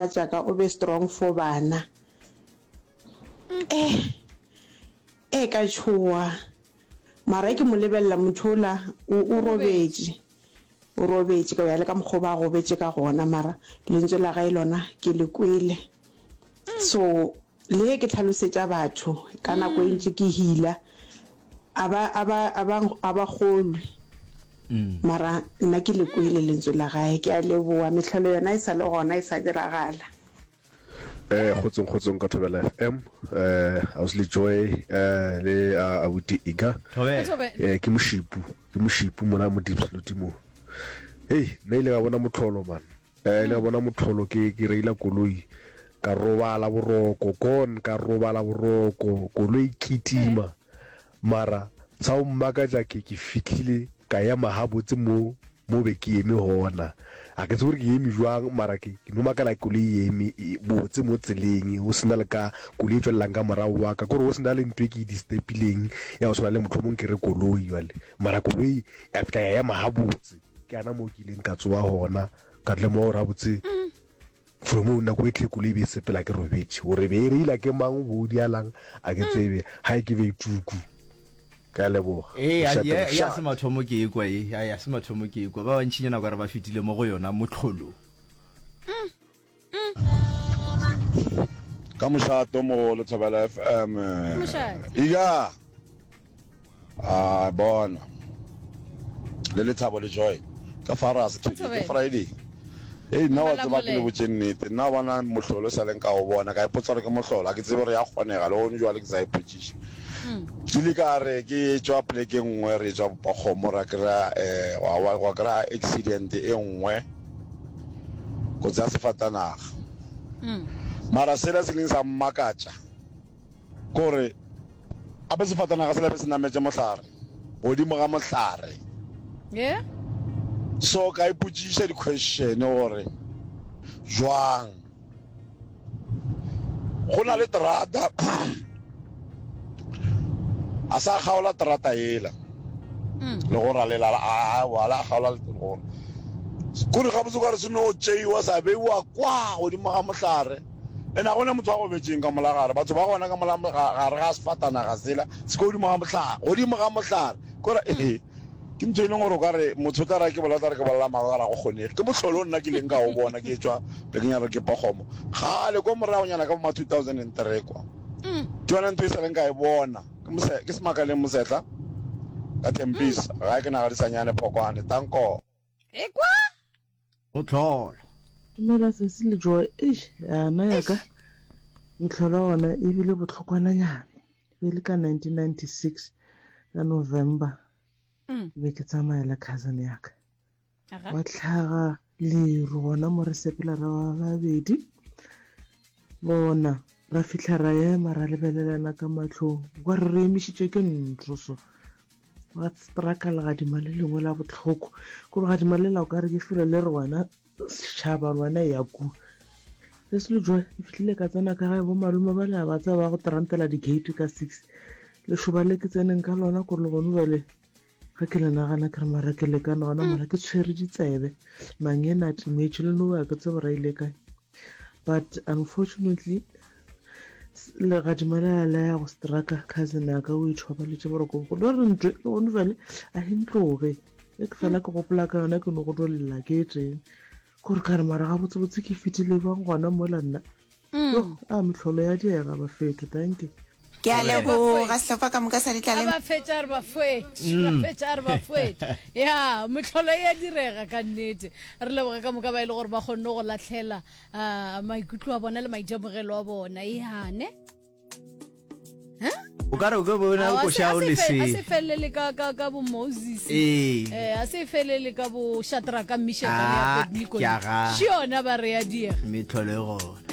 Mogatšaka o be strong for bana. Eh, eh ka tšhoga. Mara ke mo lebelela motho ola o o robetše. O robetše ka ya le ka mokgwa ba gobetše ka gona mara lentswe la gae lona ke le kwele. So Le ge ke hlalosetša batho ka nako e ntši ke hila, a ba, a ba, a ba, a ba kgolwe. Mara nna ke le kwele lentswe la gae. Ke a leboga. Mehlolo yona e sa le gona, e sa diragala. Eh kgotsong kgotsong ka Thobela FM eh Ausi Joy eh le abuti Iga Thobela. eh ke moshipu ke moshipu mona mo Diepsloot mo hei nna ile ka bona motlholo man Eh, le a bona motlholo ke ke reila koloi ka robala boroko gone ka robala boroko koloi kitima mara sa go mmakatša ke ke fihlile ka ema gabotse mo mo be ke eme gona a ke tsebe gore ke eme jwang mara ke ke no makala koloi e eme e, botse mo tseleng go sena le ka koloi e tswelelang ka morago wa ka kore go sena le ntho e ke e distepileng ya go tshwana le mohlomong ke re koloi jwale mara koloi ya fihla ya ema gabotse Ke gana moo ke ileng ka tsoga gona, ka lemoga gore gabotse from moo nako e tlhekolo e be e sepela ke robetše. Gore be e reila ke mang, bo dialang, a ke tsebe. Ga e ke be e tuku. Ke a leboga. Ee, Mošate, ya, ya se mošate. mathomo ke ekwa ye, ya, ya se mathomo ke ekwa. Ba bantšinyana ka re ba fetile mo go yona mohlolo. Ka mošate o mogolo Thobela FM. Ika a bona le lethabo le joy ka fara se ke Friday. Hey nna wa tseba ke le botše nnete nna bona mohlolo sa leng ka o bona ka ipotsa gore ke mohlolo a ke tsebe gore ya kgonega le gone jwale ke sa ipotšiša ke ile ka re ke tšwa poleke nngwe re tswa kgomo ra kry-a um wa kry-a accident e nngwe kotsi ya sefatanaga. Mara sela se ileng sa mmakatša ke gore gape sefatanaga sela be se nametše mohlare, godimo ga mohlare. Yeah. So ka ipotšiša di-question gore jwang go na le terata a sa kgaola terata yela mm. le go ralela a wala a kgaola legora kore gabotse ka re se no tšeiwa sa beiwa kwa godimo ga mohlare ene a gona motho wa go betseng ka mola gare batho ba gona ka mola gare ga sefatanaga sela se ka godimo ga mohlare godimo ga mohlare kore ee Ke ntho e leng gore o ka re motho o tla ra ke bolela, o tla re ke bolela maaka, ka re ga go kgonege. Ke mohlolo o nna ke ileng ka o bona ke etšwa plekeng ya re ke Pokgomo kgale ko moragonyana ka bo ma 2003 kwa. Ke yona ntho e sa leng ka e bona. Ke mose, ke Semakaleng Mosetla ka Tempisa, gae ke Nagadisanyane Phokwane. Danko. Ekwa! Go tlhola. Dumela sesi le Joy. Eish, yana ya ka mehlolo ona e bile bohlokwananyana. E be le ka 1996 ka November. Ke be ke tsamaya le cousin ya ka. Wa tlhaga leru gona mo re sepela re ba babedi. Bona ra fihla ra ema ra lebelelana ka mahlong. Kwa re re emišitše ke ntlo so. Gwa straka legadima le lengwe la bohloko. Ko legadima le la o ka re ke felo le re wena setšhaba le wena ya ku. Se se le joy ke fihlile ka tsena ka gae bo malome ba le ba tseba ba go trantela di-gate ka six. Lešoba le ke tseneng ka lona ko le gone jwale ge ke le nagana ke re mara ke lekane gona mola ke tshwere ditsebe mangena a timetše le noba ke tsebe ra ile kae. But unfortunately legadima le la ya go straka cousin ya ka o ithobaletše boroko bogolo ba re ntwe le gone jale a e ntloge e ke fela ke gopola ka yona ke no go dolela ke e teng gore ka re mara gabotsebotse ke fetile bang gona mola nna yo a mehlolo ya diega bafeto thank you Ke a leboga sehlopha ka moka sa A Ditlaleng. ba fetša a re ba foetše, ba fetša a re ba foetše. Ya, mehlolo e a direga ka nnete. Re leboge ka moka ba e le gore ba kgonne go lahlela ah, maikutlo a bona le maitemogelo a bona. Ya, ne? O ka re o ke bona Aowa, a se- koša a o se le fe- se. a se felele ka ka ka bo Moses. Ee. Eh, a se felele ka bo Shadraka, Mishaka le Ah, Abednego. ke a ga. Še yona ba re ya diega. Mehlolo e gona.